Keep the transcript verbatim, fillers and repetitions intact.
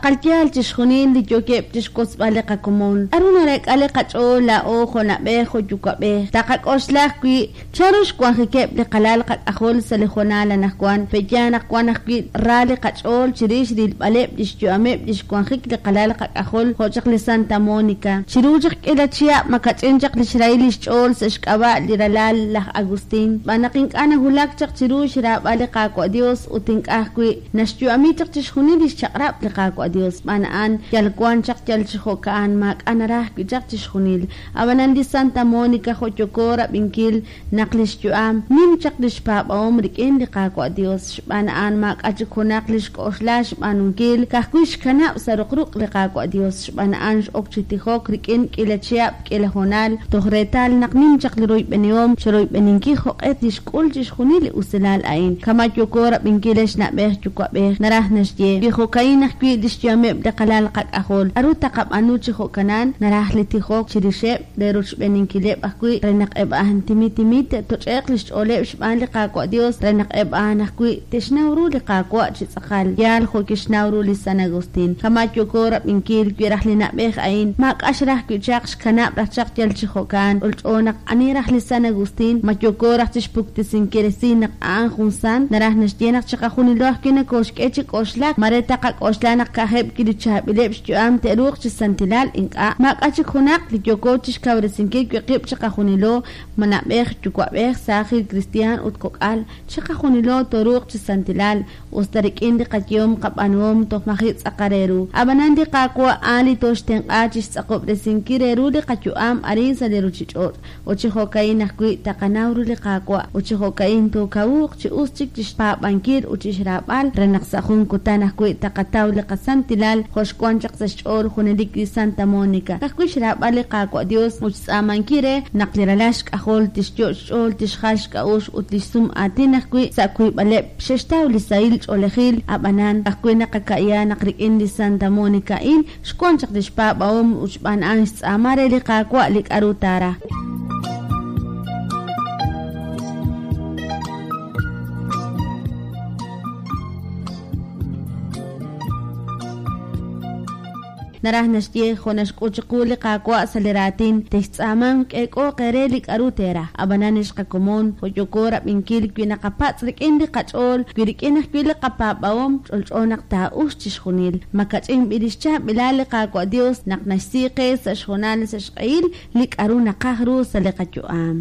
Tz'aqal yaal chixjunil li yookeb' chixwotzb'al li qakomon. K'a'ru nareek'a li qach'ool laa'o jo' na'b'ej jo' yuwa'b'ej? Taqak'oxla ajwi' chanru xwanjikeb' li qalal qak'ajol sa' li hoonal anaqwan. Pe'yaal naq wan ajwi' ra li qach'ool chirix rilb'aleb' lix yu'ameb' lix wanjik li qalal qak'ajol jo' chaq li Santa Mónica. Chiru chaq k'iila chihab' makach'in chaq lix rahil lix ch'ool sa' xk'ab'a' li ralal laj Agustín. Xb'aan naq ink'a' nawulak chaq chiru xraab'al li Qaawa' Dios ut ink'a' ajwi' naxyu'ami chaq chixjunil lix chaq'rab' li Qaawa' Dios. Xb'aan a'an yal wan chaq yal chi jo'ka'an maak'a' naraj wi' chaq chixjunil. Ab'anan li Santa Mónica jo' yooko rab'inkil naq lix yu'am nim chaq lix paab'ahom rik'in li Qaawa' Dios. Xb'aan a'an maak'a' chik junaq li xk'oxla xb'aanunkil ka'ajwi' xkanab' sa' ruqruq' li Qaawa' Dios. Xb'aan a'an x'ok chi tijok rik'in k'iila chihab' k'iila hoonal toj reetal naq nim chaq li royb'enihom chiroyb'eninkil jo'q'e tixk'ul chixjunil li usilal a'in. Kama yooko rab'inkil ex na'b'ej yuwa'b'ej naraj naxye wi jo'ka'in ajwi' lix yu'ameb' li qalal qak'ajol. K'a'ru taqab'aanu chi jo'kanan naraj li tijok chirixeb' re rochb'eninkileb' ajwi' re naq eb' a'an timi timi te'toch'e'q lix ch'ooleb' xb'aan li Qaawa' Dios re naq eb' a'an ajwi' te'xnaw ru li Qaawa' chi tz'aqal yaal jo' kixnaw ru li San Agustín. Kama yooko rab'inkil wi raj li na'b'ej a'in maak'a' xraj wi' chaq xkanab' raj chaq yal chi jo'kan. Ch'olch'o naq ani raj li San Agustín ma yooko raj chixpuktesinkil resil naq a'an jun sant naraj naxye naq chiqajunilo ajwi' nakooxk'e chi k'oxlak mare taqak'oxla naq ka'ajeb' wi' li chaab'ileb' xyu'am te'ruuq chi santilal ink'a' maak'a' chik junaq li yooko chixkawresinkil wi' qib' chiqajunilo ma na'b'ej yuwa'b'ej saajil kristiaan ut kok'al chiqajunilo tooruuq chi santilal usta rik'in li qayehom qab'aanuhom toj maji' tz'aqal re ru. Ab'anan li Qaawa' a'an li tooxtenq'a chixtz'aqob'resinkil re ru li qayu'am arin sa' li ruchich'och' ut chi jo'ka'in ajwi' taqanaw ru li Qaawa' ut chi jo'ka'in tookawuuq chi us chik chixpaab'ankil ut chixraab'al re naq sa' jun kutan ajwi' taqataw li qasantilal jo' xwan chaq sa' xch'ool junelik li Santa Mónica. Ka'ajwi' xraab'al li Qaawa' Dios ut xtz'aamankil re naq li ralal xk'ajol tixyo' xch'ool tixjal xk'a'uxl ut lix sum aatin ajwi' sa' wiib'aleb' xe'xtaw li sahil ch'oolejil. Ab'anan ka'ajwi' naqaka'ya naq rik'in li Santa Mónica a'in xwan chaq lix paab'ahom ut xb'aan a'an xtz'aama re li Qaawa' li k'a'ru taaraj. Naraj naxye jo' naxk'ut chiqu li Qaawa' sa' li raatin textz'aamanq k'eek'ooq eere li k'a'ru teeraj. Ab'anan ex qakomon jo' yooko rab'inkil wi naqapatz' rik'in li qach'ool wi rik'in ajwi' li qapaab'ahom ch'olch'o naq taa'ux chixjunil. Makach'in b'i lix chaab'ilal li Qaawa' Dios naq naxsi qe sa' xhoonal sa' xq'ehil li k'a'ru naqaj ru sa' li qayu'am.